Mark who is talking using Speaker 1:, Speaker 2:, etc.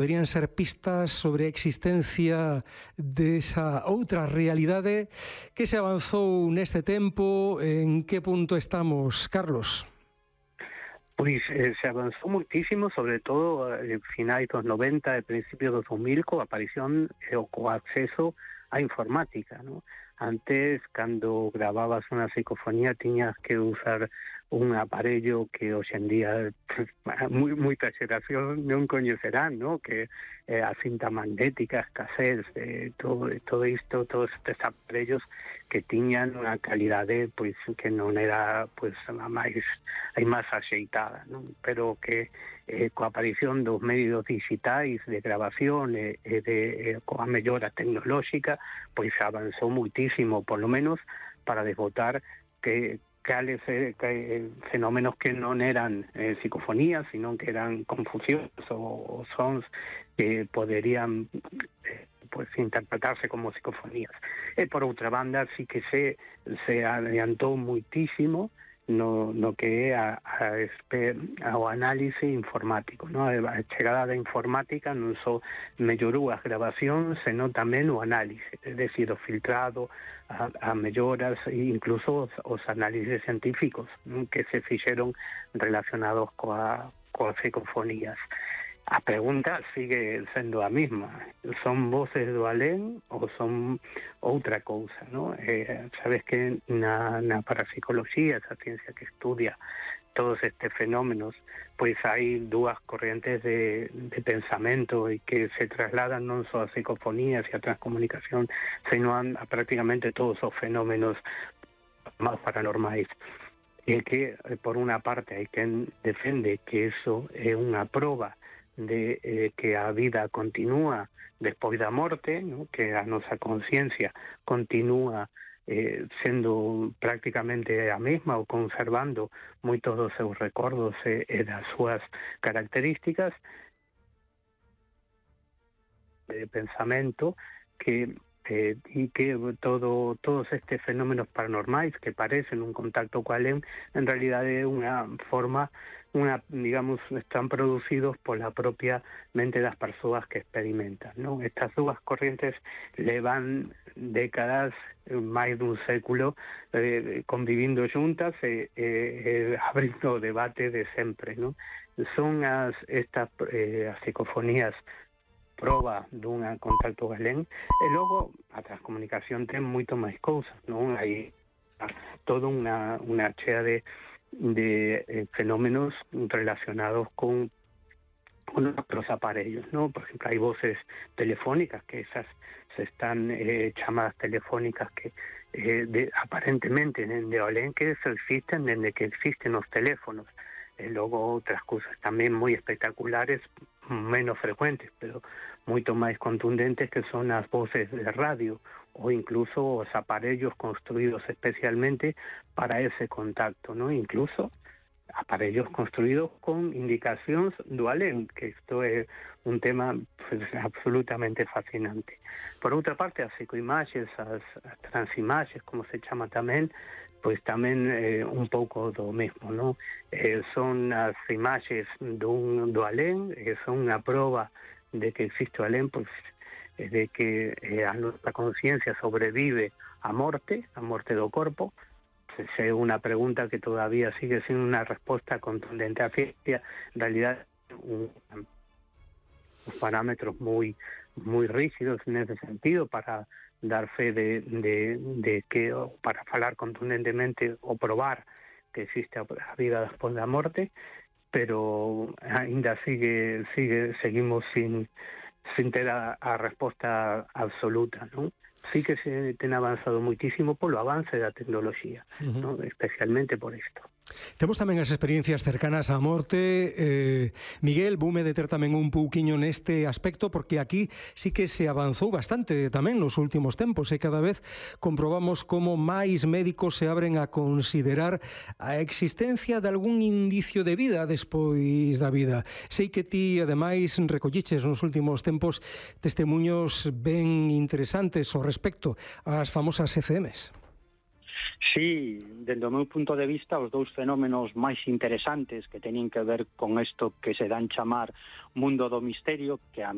Speaker 1: Poderían ser pistas sobre a existencia desa outra realidade que se avanzou neste tempo. En que punto estamos, Carlos?
Speaker 2: Pois se avanzou muitísimo, sobre todo en finais dos 90 e principios dos 2000, coa aparición e o co acceso á informática, ¿no? Antes, cando gravabas unha psicofonía, tiñas que usar un aparello que hoxe en día moita xeración non coñecerán, ¿no? Que a cinta magnética, as cassettes, todo isto, todos estes aparellos que tiñan unha calidade pois que non era pois a máis axeitada, non? Pero que coa aparición dos medios digitais de grabación e coa mellora tecnolóxica, pois avanzou muitísimo, por lo menos para desbotar que cales fenómenos que non eran psicofonías, sino que eran confusións ou sons que poderían pues interpretarse como psicofonías. E por outra banda, sí que se adiantou muitísimo no que é ao análise informático, ¿no? A chegada da informática non só mellorou as grabacións, senón tamén o análise, é dicir, o filtrado, a melloras e incluso os análises científicos, ¿no? Que se fixeron relacionados coas psicofonías. A pregunta sigue sendo a mesma. Son voces do alén ou son outra cousa, ¿no? Sabes que na parapsicoloxía, esa ciencia que estudia todos estes fenómenos, pois hai dúas corrientes de pensamento e que se trasladan non só a psicofonías e a transcomunicación, sino a prácticamente todos os fenómenos máis paranormais. E que, por unha parte, hai quen defende que eso é unha proba de que a vida continúa despois da morte, ¿no? Que a nosa conciencia continúa sendo prácticamente a mesma ou conservando moitos dos seus recordos e das súas características de pensamento que todos estes fenómenos paranormais que parecen un contacto co alén, en realidade é unha forma, digamos, están producidos pola propia mente das persoas que experimentan, ¿no? Estas dúas corrientes levan décadas, máis dun século, convivindo xuntas e abrindo o debate de sempre, ¿no? Son estas psicofonías proba dun contacto galén, e logo a transcomunicación ten moito máis cousas, non? Hai toda unha chea de fenómenos relacionados con outros aparellos, ¿no? Por exemplo, hai voces telefónicas que esas se están chamadas telefónicas que aparentemente dende o alén que existen dende que existen os teléfonos. E logo outras cousas tamén moi espectaculares, menos frecuentes, pero moito máis contundentes, que son as voces de radio ou incluso os aparellos construídos especialmente para ese contacto, ¿no? Incluso aparellos construídos con indicacións do alén, que isto é un tema pues, absolutamente fascinante. Por outra parte, as psicoimaxes, as transimaxes, como se chama tamén, pois tamén un pouco do mesmo, ¿no? Son as imaxes do alén, son unha proba de que existe o alén, pois de que a nosa conciencia sobrevive a morte do corpo. É unha pregunta que todavía sigue sin unha resposta contundente. A ciencia, en realidad, uns parámetros moi rígidos nese sentido para dar fe de que, para falar contundentemente ou probar que existe a vida despois da morte, pero ainda seguimos sin ter a resposta absoluta, non? Sí que se ten avanzado muitísimo polo avance da tecnoloxía, ¿no? Especialmente por isto.
Speaker 1: Temos tamén as experiencias cercanas á morte. Miguel, voume deter tamén un pouquiño neste aspecto, porque aquí sí que se avanzou bastante tamén nos últimos tempos, e cada vez comprobamos como máis médicos se abren a considerar a existencia de algún indicio de vida despois da vida. Sei que ti, ademais, recolliches nos últimos tempos testemuños ben interesantes ao respecto ás famosas ECMs.
Speaker 3: Sí, dende o meu punto de vista, os dous fenómenos máis interesantes que teñen que ver con isto que se dan chamar mundo do misterio, que a